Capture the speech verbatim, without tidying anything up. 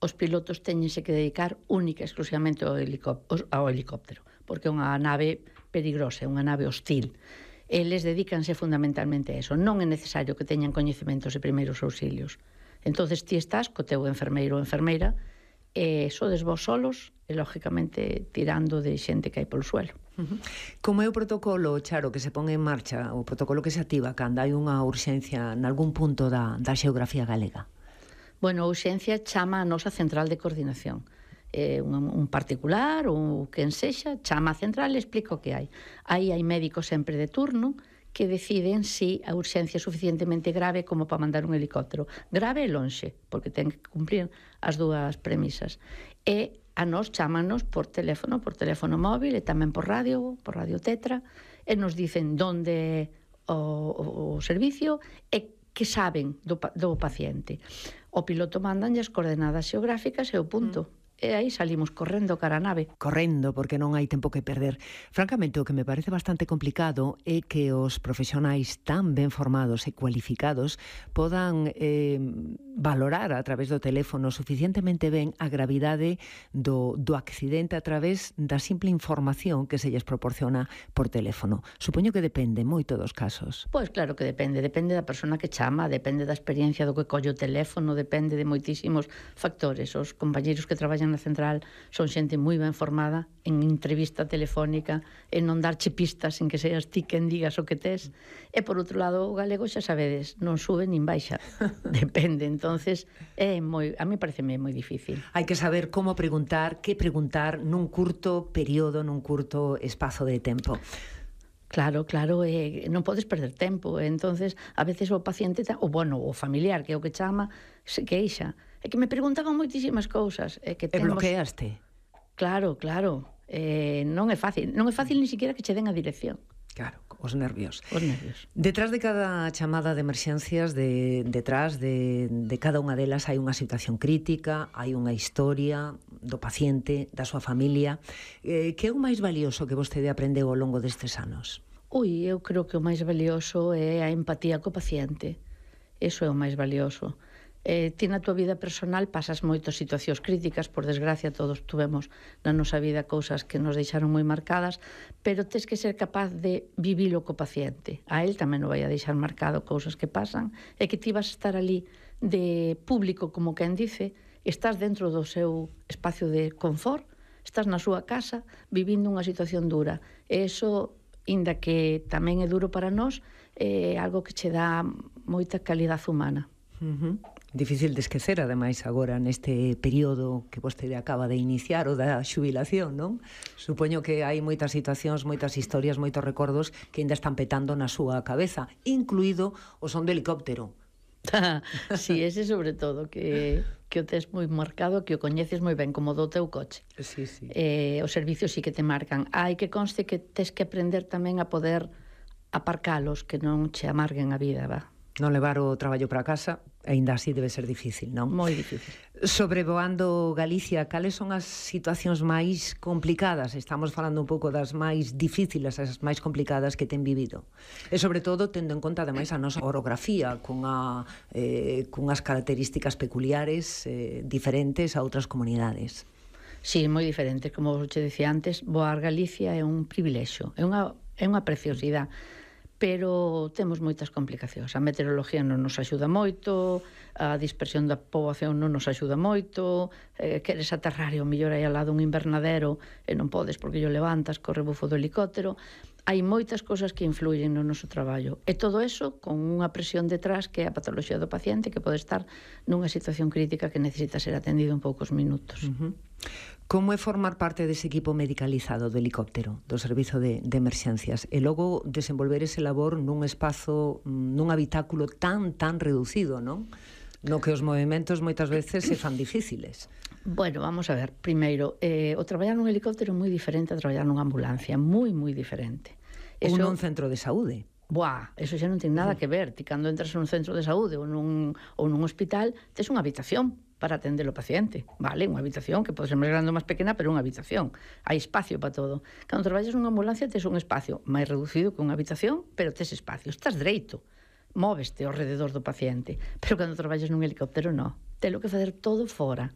os pilotos teñense que dedicar única e exclusivamente ao helicóptero, ao helicóptero, porque é unha nave peligrosa, é unha nave hostil. Eles dedícanse fundamentalmente a eso. Non é necesario que teñan coñecementos de primeiros auxilios. Entonces ti estás co teu enfermeiro ou enfermeira e sodes vos solos e, lógicamente, tirando de xente que hai polo suelo. Uh-huh. Como é o protocolo, Charo, que se pon en marcha, o protocolo que se activa cando hai unha urxencia nalgún punto da, da xeografía galega? Bueno, a urxencia chama a nosa central de coordinación. Eh, un, un particular ou quen sexa, chama a central e explica o que hai. Aí hai médicos sempre de turno que deciden si a urxencia é suficientemente grave como para mandar un helicóptero. Grave e lonxe, porque ten que cumprir as dúas premisas. E a nos chámanos por teléfono, por teléfono móvil e tamén por radio, por radio tetra, e nos dicen donde o, o, o servicio e que saben do, do paciente. O piloto mandan as coordenadas xeográficas e o punto. Mm. E aí salimos correndo cara a nave. Correndo, porque non hai tempo que perder. Francamente, o que me parece bastante complicado é que os profesionais tan ben formados e cualificados podan eh, valorar a través do teléfono suficientemente ben a gravidade do, do accidente a través da simple información que se lles proporciona por teléfono. Supoño que depende moito dos casos. Pois claro que depende. Depende da persona que chama, depende da experiencia do que colle o teléfono, depende de moitísimos factores. Os compañeiros que traballan na central son xente moi ben formada en entrevista telefónica, en non darche pistas sin que seas ti quen digas o que tes. E por outro lado, o galego xa sabedes, non sube nin baixa. Depende, entonces é moi, a mí pareceme moi difícil. Hai que saber como preguntar, que preguntar nun curto período, nun curto espazo de tempo. Claro, claro, eh, non podes perder tempo. Entonces, a veces o paciente, o bueno, o familiar, que é o que chama, se queixa. É que me preguntaban moitísimas cousas. É que temos... E bloqueaste? Claro, claro. Eh, non é fácil. Non é fácil ni siquiera que che den a dirección. Claro, os nervios. Os nervios. Detrás de cada chamada de emerxencias, de, detrás de, de cada unha delas hai unha situación crítica, hai unha historia do paciente, da súa familia. Eh, que é o máis valioso que vostede aprendeu ao longo destes anos? Ui, eu creo que o máis valioso é a empatía co paciente. Eso é o máis valioso. Eh, ti na tua vida personal pasas moitas situacións críticas, por desgracia todos tuvemos na nosa vida cousas que nos deixaron moi marcadas, pero tes que ser capaz de vivilo co paciente. A él tamén o vai a deixar marcado cousas que pasan, e que ti vas a estar ali de público, como quen dice, estás dentro do seu espacio de confort, estás na súa casa vivindo unha situación dura, e iso, inda que tamén é duro para nós, é algo que che dá moita calidade humana. Uh-huh. Difícil de esquecer, ademais, agora neste período que vostede acaba de iniciar, o da xubilación, non? Supoño que hai moitas situacións, moitas historias, moitos recordos que ainda están petando na súa cabeza, incluído o son do helicóptero. Si, sí, ese sobre todo, que, que o tes moi marcado, que o coñeces moi ben, como do teu coche. Sí, sí. Eh, os servicios sí que te marcan. Hai que conste que tes que aprender tamén a poder aparcalos, que non che amarguen a vida, va? Non levar o traballo para casa, aínda así debe ser difícil, non? Moi difícil. Sobrevoando Galicia, cales son as situacións máis complicadas? Estamos falando un pouco das máis difíciles, as máis complicadas que ten vivido. E sobre todo, tendo en conta, ademais, a nosa orografía, cunha, eh, cunhas características peculiares eh, diferentes a outras comunidades. Sí, moi diferente. Como che decía antes, voar Galicia é un privilexio, é unha, é unha preciosidade. Pero temos moitas complicacións. A meteoroloxía non nos axuda moito, a dispersión da poboación non nos axuda moito, eh, queres aterrar e o mellor aí ao lado un invernadero e non podes porque yo levantas co rebufo do helicóptero. Hai moitas cousas que influyen no noso traballo. E todo eso con unha presión detrás que é a patoloxía do paciente, que pode estar nunha situación crítica que necesita ser atendido en poucos minutos. Uh-huh. Como é formar parte dese equipo medicalizado do helicóptero, do servizo de, de emerxencias, e logo desenvolver ese labor nun espazo, nun habitáculo tan, tan reducido, non? No que os movimentos moitas veces se fan difíciles. Bueno, vamos a ver, primeiro, eh, o traballar nun helicóptero é moi diferente a traballar nunha ambulancia, moi, moi diferente. Ou nun centro de saúde. Buah, eso xa non ten nada que ver. Ti cando entras nun centro de saúde ou nun, ou nun hospital, tes unha habitación para atender o paciente, vale? Unha habitación que pode ser máis grande ou máis pequena, pero unha habitación. Hai espacio para todo. Cando traballas nunha ambulancia, tes un espacio máis reducido que unha habitación, pero tes espacio. Estás dereito, móveste ao rededor do paciente. Pero cando traballas nun helicóptero, non. Telo que facer todo fora.